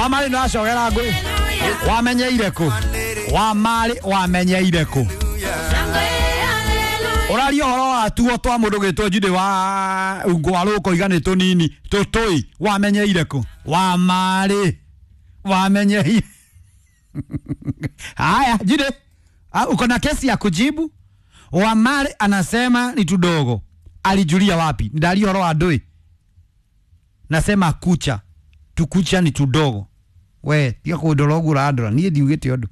Wamari no acogera ngui. Wamenyeire ku? Wamari wamenyeire ku? Ũraria ũhoro wa tuo twa mũndũ gwĩtwo Judy wa ngwarũko iga nĩ tũnini tũtũi wamenyeire kũ? Wamari wamenyeire. Haya Judy, uko na kesi ya kujibu? Wamari anasema ni tudogo. Alijulia wapi? Ndaria ũhoro wa ndũi. Nasema kucha. Tukucha ni tudogo. We, tiga kũndora ũguo ũrandora. Niĩ ndiugĩte ũndũ.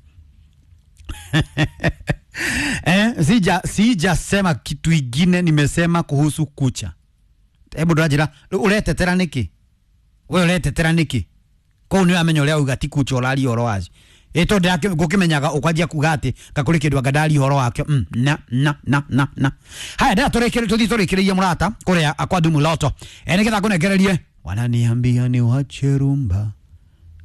Sijasema kitu ingine, nimesema kuhusu kucha. Hebu ndũranjĩra ũretetera nĩkĩ? We ũretetera nĩkĩ? Kũu nĩ ũramenya ũrĩa uga ti kucha ũraria ũhoro wacio. Ĩ tondũ ngũkĩmenyaga ũkwanjia kuga atĩ kakũrĩ kĩndũ anga ndaria ũhoro wakĩo. Na na na na na. Haya ndĩra tũrĩkĩrĩrie tũthiĩ tũrĩkĩrĩrie mũrata kũrĩa kwa Dumu Loto. Nĩgetha ngũnengererie wananiambia ni wache rumba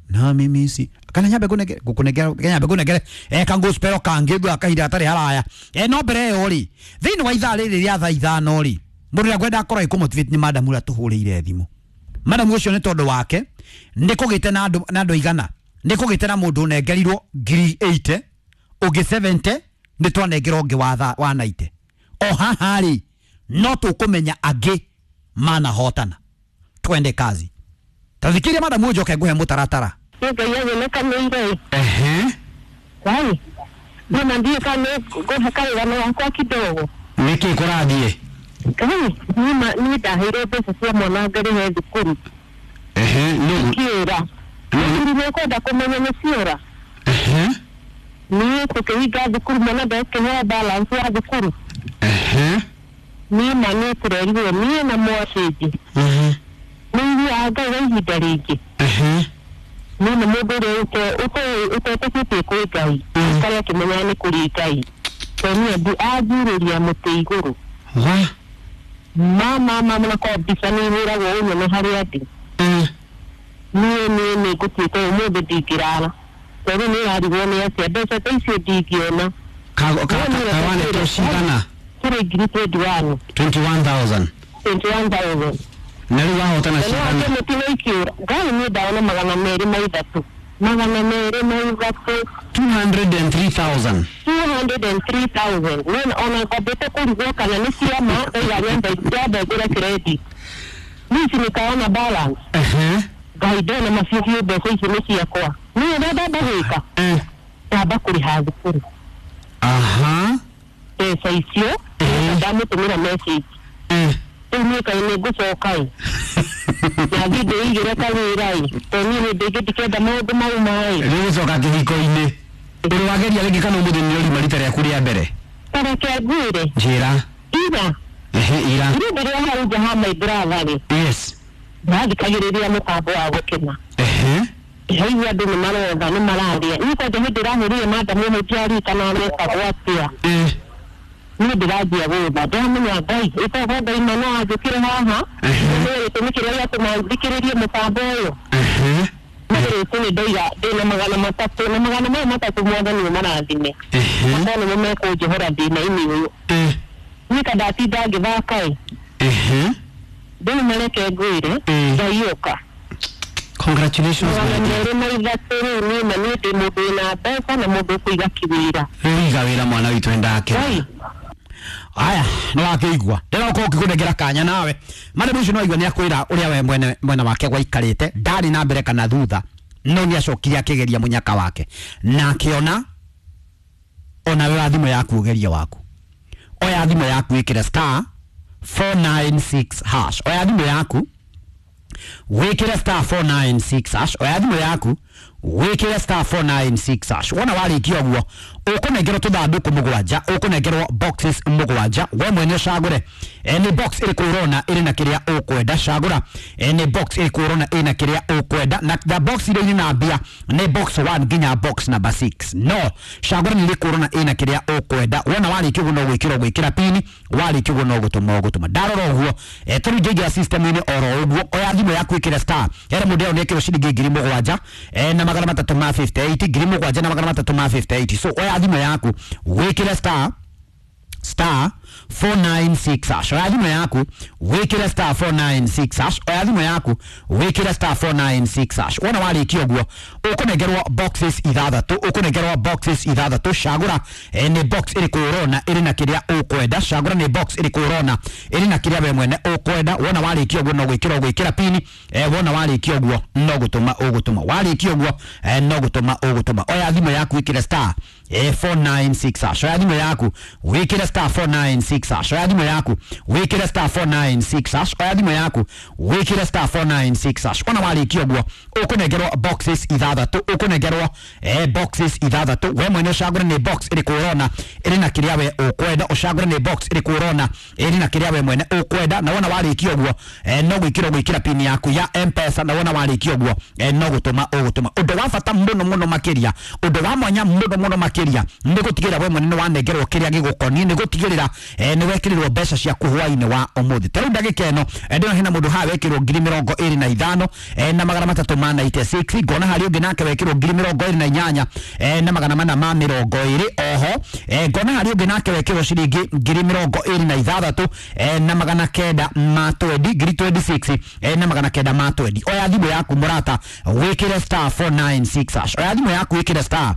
na mimi si kana nyambe kunegere gukunegera nyambe kunegere kangu spero kangi gwa kahinda gatari haraya no mbere ĩyo rĩ thĩinĩ wa ithaa rĩrĩ rĩa thaa ithano rĩ mũndũ ũrĩa ngwenda akorwo agĩkũmotivate nĩ madam ũrĩa tũhũrĩire thimũ. Madam ũcio nĩ tondũ wake nĩ kũgĩte na andũ igana, nĩ kũgĩte na mũndũ ũnengerirwo ngiri 80 ũngĩ 70 nĩ twanengerwo ũngĩ wa 90. O haha rĩ no tũkũmenya angĩ manahotana. Twende kazi. Tathikiria madam ũnjoke ngũhe mũtaratara. Ngai agenekanĩire. Wai. Nĩ ndiĩ kana ngũhe karũgano gakwa kidogo. Nĩkĩ kũrathiĩ? Ngai, niĩ ndaheirwo mbeca cia mwana ngarĩhe thukuru. Ciora. Thukuru nĩkwenda kũmenya nĩ ciora. Niĩ tũkĩhinga thukuru mwana ndekĩheo balance ya thukuru. Niĩ ma nĩ tũrerirwo niĩ na mwacĩnji. Nĩ ithuaga Ngai wa ihinda rĩngĩ. Niĩ nĩ mũndũ ũrĩa ũtetĩkĩtie kwĩ Ngai karĩa akĩmenyaga nĩ kũrĩ Ngai. Tondũ niĩ anjurĩria mũtĩ igũrũ. Mama mama na kwa mbica nĩ ihũragwo ũnyone harĩa ndĩ. Niĩ niĩ nĩ ngũtuĩka ũmũthĩ ndingĩrara. Tondũ nĩ ĩrarigwo nĩ atĩa mbeca ta icio ndingĩona. Kawanetwo cigana? Kũrĩ ngiri 21. 21,000. 21,000. Na rĩu wahotana cigana? Mũtino ikĩũra. Ngai niĩ ndaona 203. 203. 203,000. 203,000. Niĩ ona ngwambĩte kũrigwo kana nĩ ciama ndaiga nyambe ngũre credit. Niĩ ici nĩkaona balance. Ngai ndona macio biũ mbeca ici nĩ ciakwa. Niĩ ũrĩa ndamba gwĩka? Ndamba kũrĩha thukuru. Mbeca icio ndamũtũmĩra message. Rĩu niĩ kaĩ nĩ ngũcoka ĩ. Na thiĩ ndĩigĩre kawĩra ĩ. Tondũ niĩ hĩndĩ ĩngĩ ndikenda maũndũ mau ma ĩ. Rĩu gũcoka kĩhiko-inĩ. Ũrĩ wageria rĩngĩ kana ũmũthĩ nĩ ũrima rita rĩaku rĩa mbere? Ta reke ngwĩre. Njĩra. Ira. Ira. Niĩ ndĩrĩ hau nja ha my brother rĩ. Yes. Ndathikagĩrĩria mũtambo wa gũkena. Haigua andũ nĩ marotha nĩ mararia. Niĩ kwanja hĩndĩ ĩrahũrire madam ũmwe ndiaririkana arekagwo atĩa. Niĩ ndĩranjia gũtha ndamenya Ngai ĩkorwo Ngai ma no anjũkĩre haha. Nĩ gĩtũmi kĩrĩa gĩatũma thikĩrĩrie mũtambo ũyũ. Nĩ gĩtũmi ndaiga ndĩna 300 na 300 mwathani ũmarathime. Akorwo nĩmo mekũnjohora thĩna-inĩ ũyũ. Niĩ ka ndatinda ngĩthaka ĩ. Rĩu mareke ngwĩre Ngai ũka. Congratulations. 203 rĩu niĩ na niĩ ndĩ mũndũ wĩna mbeca na mũndũ ũkũiga kĩwĩra. Rĩu iga wĩra mwana witũ nĩndakena. Aya, nĩ wakĩigua. Ndĩroka ũkĩkũnengera kanya nawe. Madam ũcio no aigua nĩ akwĩra ũrĩa we mwene mwena wake gwaikarĩte, ndarĩ na mbere kana thutha, no nĩ acokire akĩgeria mũnyaka wake. Na akĩona ona we wa thimũ yaku ũgerie waku. Oya thimũ yaku ĩkĩre star 496 hash. Oya thimũ yaku wĩkĩre star 496 hash. Oya thimũ yaku wĩkĩre star 496 hash. Wona warĩkia ũguo ũkũnengerwo tũthandũkũ mũgwanja, ũkũnengerwo boxes mũgwanja, we mwene ũcagũre nĩ box ĩrĩkũ ũrona ĩrĩ na kĩrĩa ũkwenda. Cagũra nĩ box ĩrĩkũ ũrona ĩna kĩrĩa ũkwenda, na box iria irĩ na mbia nĩ box 1 nginya box number 6. No cagũra nĩ ĩrĩkũ ũrona ĩna kĩrĩa ũkwenda. Wona warĩkia ũguo no gwĩkĩra ũgwĩkĩra pini, warĩkia ũguo no gũtũma ũgũtũma. Ndarora ũguo tũrĩu njaingĩra system-inĩ oro ũguo. Oya thimũ yaku ĩkĩre star ere mũndũ ĩyo nĩ ĩkĩrwo ciringi 7,000 na 358, 7,358. So oya thimũ yaku wĩkĩre star star 496 hash. Oya thimũ yaku wĩkĩre star 496 hash. Oya thimũ yaku wĩkĩre star 496 hash. Wona warĩkia ũguo ũkũnengerwo boxes ithathatũ, ũkũnengerwo boxes ithathatũ. Cagũra nĩ box ĩrĩkũ ũrona ĩrĩ na kĩrĩa ũkwenda. Cagũra nĩ box ĩrĩkũ ũrona ĩrĩ na kĩrĩa we mwene ũkwenda. Wona warĩkia ũguo no gwĩkĩra ũgwĩkĩra pini. Wona warĩkia ũguo no gũtũma ũgũtũma. Warĩkia ũguo no gũtũma ũgũtũma. Oya thimũ yaku wĩkĩre star 496 hash. Oya thimũ yaku wĩkĩre star 496 hash. Oya thimũ yaku wĩkĩre star 496 hash. Oya thimũ yaku wĩkĩre star 496 hash. Wona warĩkia ũguo ũkũnengerwo boxes ithathatũ, ũkũnengerwo boxes ithathatũ. We mwene ũcagũre nĩ box ĩrĩkũ ũrona ĩrĩ na kĩrĩa we ũkwenda. Ũcagũre nĩ box ĩrĩkũ ũrona ĩrĩ na kĩrĩa we mwene ũkwenda. Na wona warĩkia ũguo no gwĩkĩra ũgwĩkĩra pin yaku ya M-Pesa. Na wona warĩkia ũguo no gũtũma ũgũtũma. Ũndũ wa bata mũno mũno makĩria, ũndũ wa mwanya mũno mũno makĩria nĩ gũtigĩrĩra we mwene nĩ wanengerwo kĩrĩa gĩgũkoniĩ, nĩ gũtigĩrĩra nĩ wekĩrĩrwo mbeca ciaku hwaĩ-inĩ wa ũmũthĩ. Ta rĩu ndagĩka ĩno ndĩrona hena mũndũ haha wekĩrwo 25,396 na 396. Ngona harĩ ũngĩ nake wekĩrwo 28,420. Oho ngona harĩ ũngĩ nake wekĩrwo ciringi 26,920, 26 na 920. Oya thimũ yaku mũrata wĩkĩre star 496 hash. Oya thimũ yaku wĩkĩre star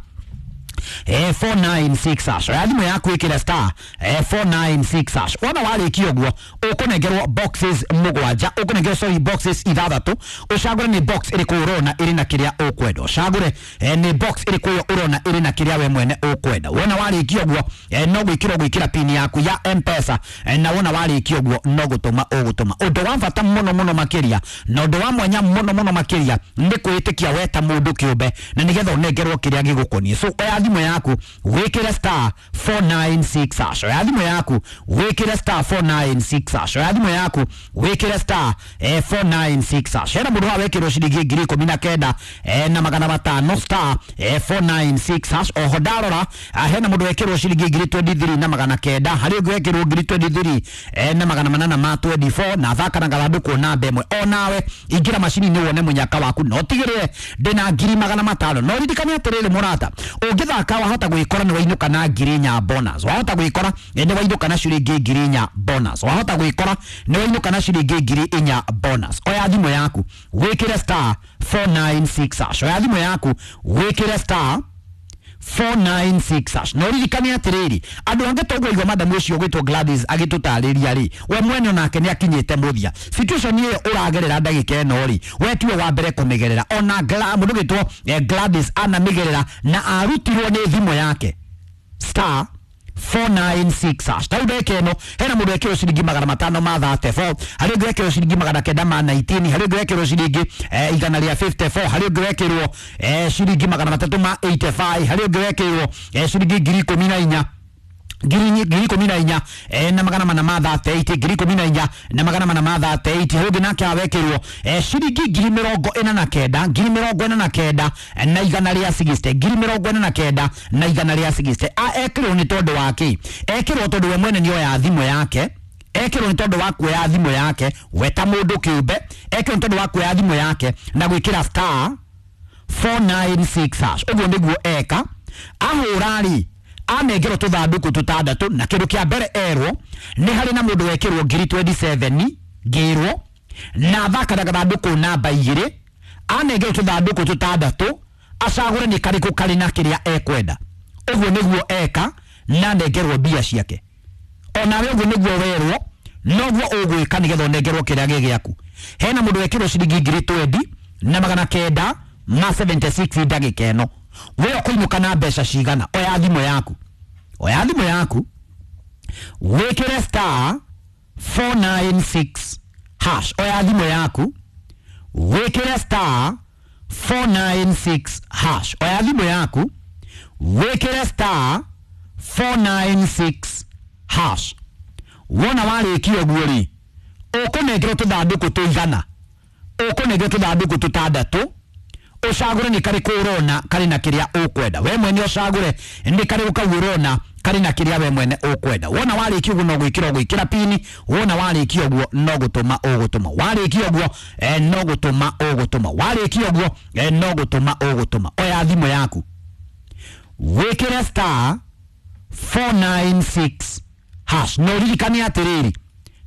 496 hash. Oya thimũ yaku wĩkĩre star 496 hash. Wona warĩkia ũguo ũkũnengerwo boxes mũgwanja, ũkũnengerwo sorry boxes ithathatũ. Ũcagũre nĩ box ĩrĩkũ ũrona ĩrĩ na kĩrĩa ũkwenda. Ũcagũre nĩ box ĩrĩkũ ĩyo ũrona ĩrĩ na kĩrĩa we mwene ũkwenda. Wona warĩkia ũguo no gwĩkĩra ũgwĩkĩra pin yaku ya M-Pesa. Na wona warĩkia ũguo no gũtũma ũgũtũma. Ũndũ wa bata mũno mũno makĩria na ũndũ wa mwanya mũno mũno makĩria nĩ kwĩĩtĩkia we ta mũndũ kĩũmbe, na nĩgetha ũnengerwo kĩrĩa gĩgũkoniĩ. So oya thimũ yaku wĩkĩre star 496 hash. Oya thimũ yaku wĩkĩre star 496 hash. Oya thimũ yaku wĩkĩre star 496 hash. Hena mũndũ haha wekĩrwo ciringi 19,500 star 496 hash. Oho ndarora hena mũndũ wekĩrwo ciringi 23,900, harĩ ũngĩ wekĩrwo 23,824 na thaka na gathandũkũ namba ĩmwe. Onawe ingĩra macini-inĩ wone mũnyaka waku, no tigĩrĩre ndĩna 500,000. No ririkane atĩrĩrĩ mũrata, ũngĩthaka wahota gwĩkora nĩ wainũka na 4,000 bonus, wahota gwĩkora nĩ wainũka na ciringi 4,000 bonus, wahota gwĩkora nĩ wainũka na ciringi 4,000 bonus. Oya thimũ yaku wĩkĩre star 496 hash. Oya thimũ yaku wĩkĩre star 496 hash. No ririkane atĩrĩrĩ, andũ angĩ toguo igua madamu ũcio ũgwĩtwo Gladys agĩtũtarĩria rĩ, we mwene onake nĩ akinyĩte mũthia. Situation ĩyo ũragerera ndagĩka ĩno rĩ, we tiwe wa mbere kũmĩgerera. Ona mũndũ ũgwĩtwo Gladys anamĩgerera na arutirwo nĩ thimũ yake star 496 hash. Ta rĩu ndagĩka ĩno hena mũndũ wekĩrwo ciringi 534, harĩ ũngĩ wekĩrwo ciringi 919, harĩ ũngĩ wekĩrwo ciringi 154, harĩ ũngĩ wekĩrwo ciringi 385, harĩ ũngĩ wekĩrwo ciringi 14,000, 14,438, 14,438. Harĩ ũngĩ nake awekĩrwo ciringi 49,000, 49,160, 49,160. Ekĩrwo nĩ tondũ wa kĩ? Ekĩrwo tondũ we mwene nĩoya thimũ yake, ekĩrwo nĩ tondũ wa kuoya thimũ yake we ta mũndũ kĩũmbe, ekĩrwo nĩ tondũ wa kuoya thimũ yake na gwĩkĩra star 496 hash. Ũguo nĩguo eka ahũra rĩ, anengerwo tũthandũkũ tũtandatũ, na kĩndũ kĩa mbere erwo nĩ harĩ na mũndũ wekĩrwo 27,000 ngĩrwo na thaka na gathandũkũ namba 2, anengerwo tũthandũkũ tũtandatũ acagũre nĩ karĩkũ karĩ na kĩrĩa ekwenda. Ũguo nĩguo eka na anengerwo mbia ciake. Onawe ũguo nĩguo werwo noguo ũgwĩka nĩgetha ũnengerwo kĩrĩa gĩ gĩaku. Hena mũndũ wekĩrwo ciringi 20,976 ndagĩka ĩno. We ũkũinũka na mbeca cigana? Oya thimũ yaku, oya thimũ yaku wĩkĩre star 496 hash. Oya thimũ yaku wĩkĩre star 496 hash. Oya thimũ yaku wĩkĩre star 496 hash. Wona warĩkia ũguo rĩ, ũkũnengerwo tũthandũkũ tũigana, ũkũnengerwo tũthandũkũ tũtandatũ, ũcagũre nĩ karĩkũ ũrona karĩ na kĩrĩa ũkwenda. We mwene ũcagũre nĩ karĩkũ kau ũrona karĩ na kĩrĩa we mwene ũkwenda. Wona warĩkia ũguo no gwĩkĩra ũgwĩkĩra pini. Wona warĩkia ũguo no gũtũma ũgũtũma. Warĩkia ũguo no gũtũma ũgũtũma. Warĩkia ũguo no gũtũma ũgũtũma. Oya thimũ yaku wĩkĩre star 496 hash. Na ũririkane atĩrĩrĩ,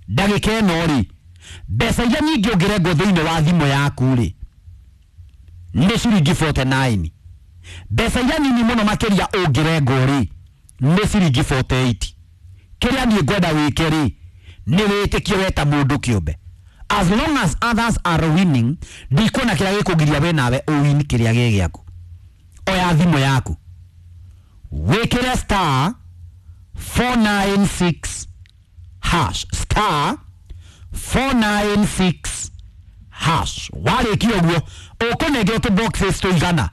ndagĩka ĩno rĩ, mbeca iria nyingĩ ũngĩrengwo thĩinĩ wa thimũ yaku rĩ nĩ ciringi 49. Mbeca iria nini mũno makĩria ũngĩrengwo rĩ nĩ ciringi 48. Kĩrĩa niĩ ngwenda wĩke rĩ nĩ wĩtĩkie we ta mũndũ kĩũmbe. As long as others are winning, ndikuona kĩrĩa gĩkũgiria we nawe ũwin kĩrĩa gĩ gĩaku. Oya thimũ yaku, wĩkĩre star 496 hash, star 496 hash. Warĩkia ũguo ũkũnengerwo tũ boxes tũigana,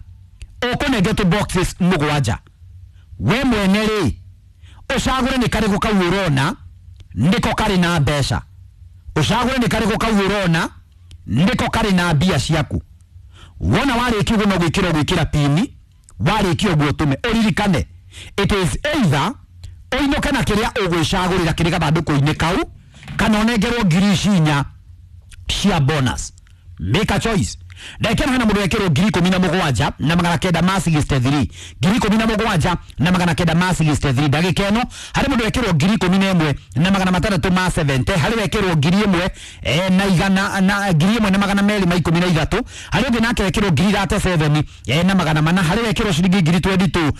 ũkũnengerwo tũ boxes mũgwanja. We mwene rĩ ũcagũre nĩ karĩkũ kau ũrona nĩko karĩ na mbeca, ũcagũre nĩ karĩkũ kau ũrona nĩko karĩ na mbia ciaku. Wona warĩkia ũguo no gwĩkĩra ũgwĩkĩra pini, warĩkia ũguo ũtũme. Ũririkane it is either ũinũke na kĩrĩa ũgwĩcagũrĩra kĩrĩ gathandũkũ-inĩ kau, kana ũnengerwo ngiri ici inya cia bonus. Make a choice. Ndagĩka ĩno hena mũndũ wekĩrwo 17,963, 17,963. Ndagĩka ĩno harĩ mũndũ wekĩrwo 11,670, harĩ wekĩrwo 1,000 na igana na 1,213, harĩ ũngĩ nake wekĩrwo 37 na magana mana, harĩ wekĩrwo ciringi 22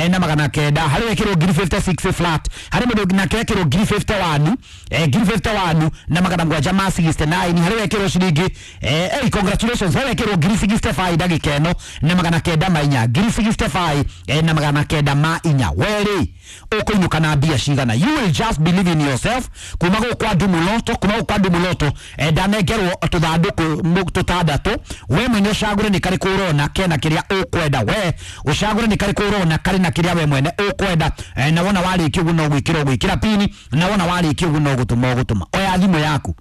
na magana kenda, harĩ wekĩrwo 56 flat, harĩ mũndũ nake wekĩrwo 51 51 na magana mũgwanja ma 69, harĩ wekĩrwo ciringi hey, congratulations, harĩ wekĩrwo 65 ndagĩka ĩno na magana kenda ma inya, 65 na magana kenda ma inya. Werĩ ũkũinũka na mbia cigana? You will just believe in yourself. Kuma gũkũ kwa Ndumuloto, kuma gũkũ kwa Ndumuloto ndanengerwo tũthandũkũ tũtandatũ. We mwene ũcagũre nĩ karĩkũ ũrona kena kĩrĩa ũkwenda. We ũcagũre nĩ karĩkũ ũrona karĩ na kĩrĩa we mwene ũkwenda. Na wona warĩkia ũguo no gwĩkĩra ũgwĩkĩra pini, na wona warĩkia ũguo no gũtũma ũgũtũma. Oya thimũ yaku,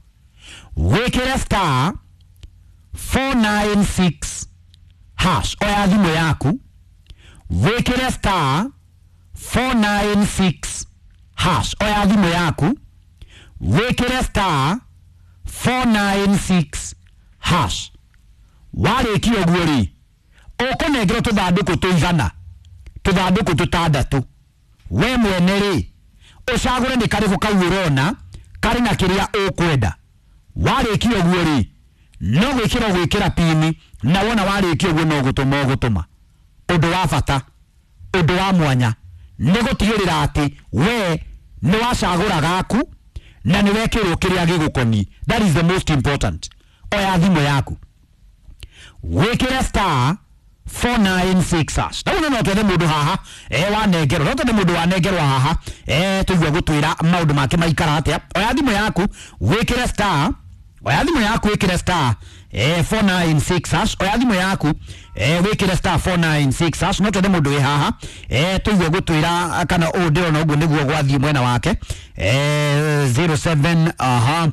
wĩkĩre star 496 hash. Oya thimũ yaku, wĩkĩre star 496 hash. Oya thimũ yaku, wĩkĩre star 496 hash. Warĩkia ũguo rĩ ũkũnengerwo tũthandũkũ tũigana, tũthandũkũ tũtandatũ. We mwene rĩ ũcagũre nĩ karĩkũ kau ũrona karĩ na kĩrĩa ũkwenda. Warĩkia ũguo rĩ no gwĩkĩra ũgwĩkĩra pini, na wona warĩkia ũguo no gũtũma ũgũtũma. Ũndũ wa bata, ũndũ wa mwanya nĩ gũtigĩrĩra atĩ we nĩ wacagũra gaku na nĩ wekĩrwo kĩrĩa gĩgũkoniĩ. That is the most important. Oya thimũ yaku, wĩkĩre star 496 hash. Na no twethe mũndũ haha wanengerwo, no twethe mũndũ wanengerwo haha tũigua gũtwĩra maũndũ make maikara atĩa. Oya thimũ yaku, wĩkĩre star, oya thimũ yaku wĩkĩre star 496 hash. Oya thimũ yaku wĩkĩre star 496 hash. No twethe mũndũ wĩ haha tũigue gũtwĩra kana ũũ ndĩrona ũguo nĩguo gwathiĩ mwena wake 07 aha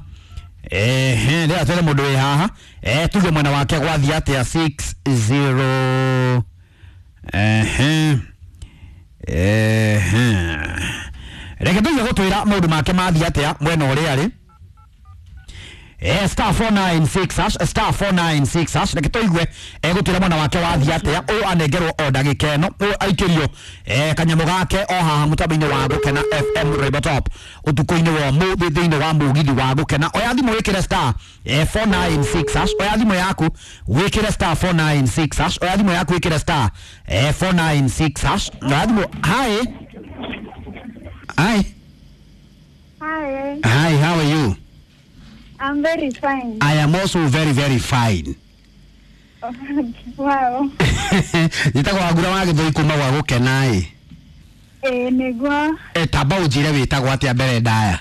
ndĩra twethe mũndũ wĩ haha tuge mwena wake gwathiĩ atĩa 60 reke tũigue gũtwĩra maũndũ make mathiĩ atĩa mwena ũrĩa arĩ. Star 496 hash, star 496 hash. Reke tũigue egũtwĩra mwana wake wathiĩ atĩa. Ũyũ anengerwo o ndagĩka ĩno, ũyũ aikĩrio kanyamũ gake o haha mũtambo-inĩ wa Gũkena FM Rainbow Top ũtukũ-inĩ wa ũmũthĩ thĩinĩ wa mũgithi wa Gũkena. Oya thimũ wĩkĩre star 496 hash. Oya thimũ yaku wĩkĩre star 496 hash. Oya thimũ yaku wĩkĩre star 496 hash. Oya thimũ. Hi. Hi. Hi. Hi, how are you? I'm very fine. I am also very, very fine. Wow. Njĩtagwo Wangura wa Gĩthũi kuma gwa Gũkena ĩ. Ĩĩ nĩguo. Tamba ũnjĩre wĩtagwo atĩa mbere ndaya.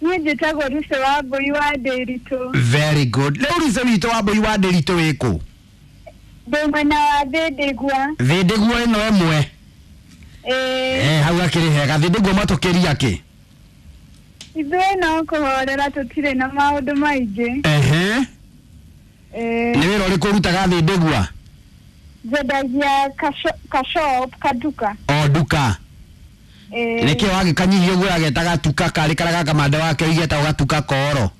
Niĩ njĩtagwo Ruce wa Mbũi wa Ndĩritũ. Very good. Rĩu Ruce witũ wa Mbũi wa Ndĩritũ wĩkũ? Ndĩ mwena wa Thĩndĩgua. Thĩndĩgua ĩno ĩmwe. Ĩĩ. Hau hakĩrĩ hega. Thĩndĩgua matũkĩria kĩ? Ithuĩ no kũhorera tũtirĩ na maũndũ maingĩ. Nĩ wĩra ũrĩkũ ũrutaga Thĩndĩgua? Njendagia kashop kaduka. O nduka. Nĩkĩo wagĩkanyihia ũguo agetaga gatuka karĩ karĩa ga kamande wake oigĩtagwo gatuka koro.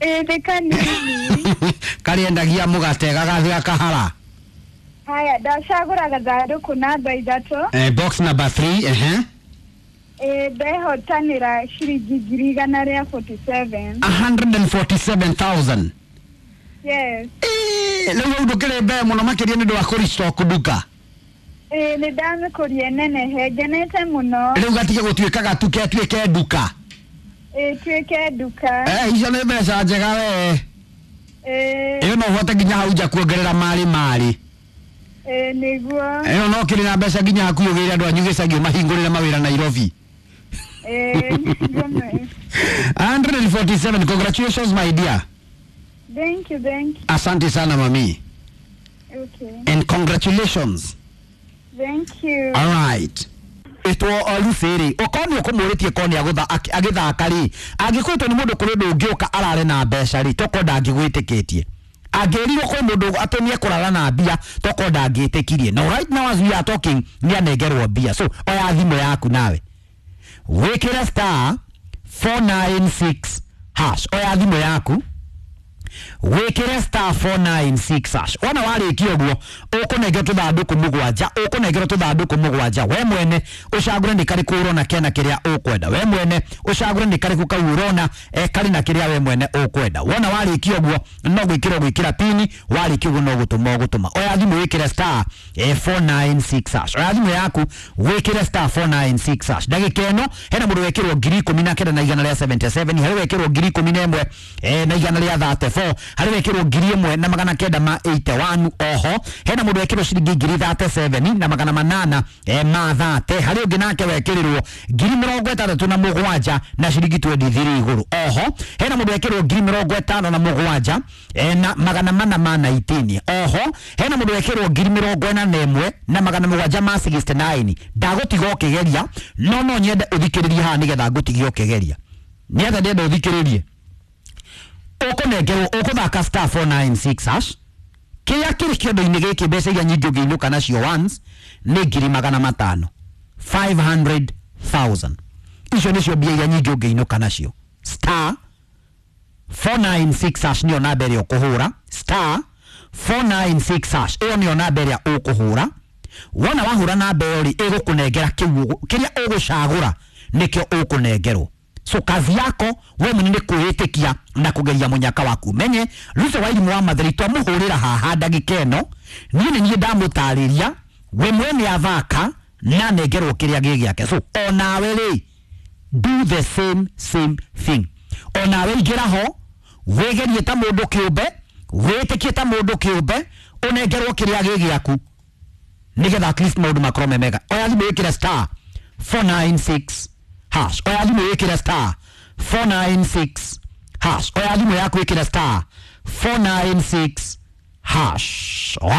Ĩĩ nĩ kanini. Karĩendagia mũgate gagathiĩ gakahara. Haya, ndacagũra gathandũkũ namba 3. Box number 3. Ndehotanĩra ciringi 147,000. 147,000. Yes. Rĩu hau ndũkĩrĩ mbere mũno makĩria nĩ ũndũ wa kũrestock nduka. Nĩ ndamĩkũria nenehe, ngenete mũno. Rĩu gatige gũtuĩka gatuke atuĩke nduka. Tuĩke nduka. Icio nĩ mbeca njega we. Ĩyo no ũhote nginya hau nja kuongerera marĩ marĩ. Nĩguo. Ĩyo no kĩrĩ na mbeca nginya hakuhĩ ũgĩre andũ anyu gĩcagi ũmahingũrĩre mawĩra Nairobi. Nĩguo. 147, congratulations my dear. Thank you, thank you. Asante sana mami. Okay. And congratulations. Thank you. All right. Ĩtwo Lucy rĩ, okorwo nĩ ũkũmũrĩtie korwo nĩ agĩthaka rĩ, angĩkwĩtwo nĩ mũndũ kũrĩ ũndũ ũngĩũka arare na mbeca rĩ, tokorwo ndangĩgwĩtĩkĩtie. Angĩrirwo kwĩ mũndũ atĩ nĩ ekũrara na mbia, tokorwo ndangĩtĩkirie. No right now as we are talking, nĩ anengerwo mbia. So oya thimũ yaku nawe, wĩkĩre star 496 hash. Oya thimũ yaku, wĩkĩre star 496 hash. Wona warĩkia ũguo, ũkũnengerwo tũthandũkũ mũgwanja, ũkũnengerwo tũthandũkũ mũgwanja. We mwene ũcagũre nĩ karĩkũ ũrona kena kĩrĩa ũkwenda. We mwene ũcagũre nĩ karĩkũ kau ũrona karĩ na kĩrĩa we mwene ũkwenda. Wona warĩkia ũguo, no gwĩkĩra ũgwĩkĩra pini. Warĩkia ũguo, no gũtũma ũgũtũma. Oya thimũ, wĩkĩre star 496 hash. Oya thimũ yaku, wĩkĩre star 496 hash. Ndagĩka ĩno hena mũndũ wekĩrwo 19,177, harĩ wekĩrwo 11,134, harĩ wekĩrwo 1,981. Oho hena mũndũ wekĩrwo ciringi 37,830, harĩ ũngĩ nake wekĩrĩrwo 67,000 na ciringi 23 igũrũ. Oho hena mũndũ wekĩrwo 57,419. Oho hena mũndũ wekĩrwo 41,769. Ndagũtiga ũkĩgeria, no no nyende ũthikĩrĩrie haha nĩgetha ngũtigie ũkĩgeria. Nĩgetha ndenda ũthikĩrĩrie, ũkũnengerwo ũkũthaka star 496 hash. Kĩrĩa kĩrĩ kĩondo-inĩ gĩkĩ, mbeca iria nyingĩ ũngĩinũka nacio once nĩ 500,000, 500,000. Icio nĩcio mbia iria nyingĩ ũngĩinũka nacio. Star 496 hash nĩyo namba ĩrĩa ũkũhũra. Star 496 hash, ĩyo nĩyo namba ĩrĩa ũkũhũra. Wona wahũra namba ĩyo rĩ, ĩgũkũnengera kĩu kĩrĩa ũgũcagũra nĩkĩo ũkũnengerwo. So kazi yako we mwene nĩ kwĩĩtĩkia na kũgeria mũnyaka waku. Menye Lucy Wairimu wa Matheri twamũhũrĩra haha ndagĩka ĩno, niĩ nĩ niĩ ndamũtarĩria, we mwene athaka na anengerwo kĩrĩa gĩ gĩake. So onawe rĩ, do the same same thing. Onawe ingĩra ho, wĩgerie ta mũndũ kĩũmbe, wĩtĩkie ta mũndũ kĩũmbe, ũnengerwo kĩrĩa gĩ gĩaku nĩgetha at least maũndũ makorwo me mega. Oya thimũ, wĩkĩre star 496 hash. Oya thimũ, wĩkĩre star 496 hash. Oya thimũ yaku, wĩkĩre star 496 hash. Oya.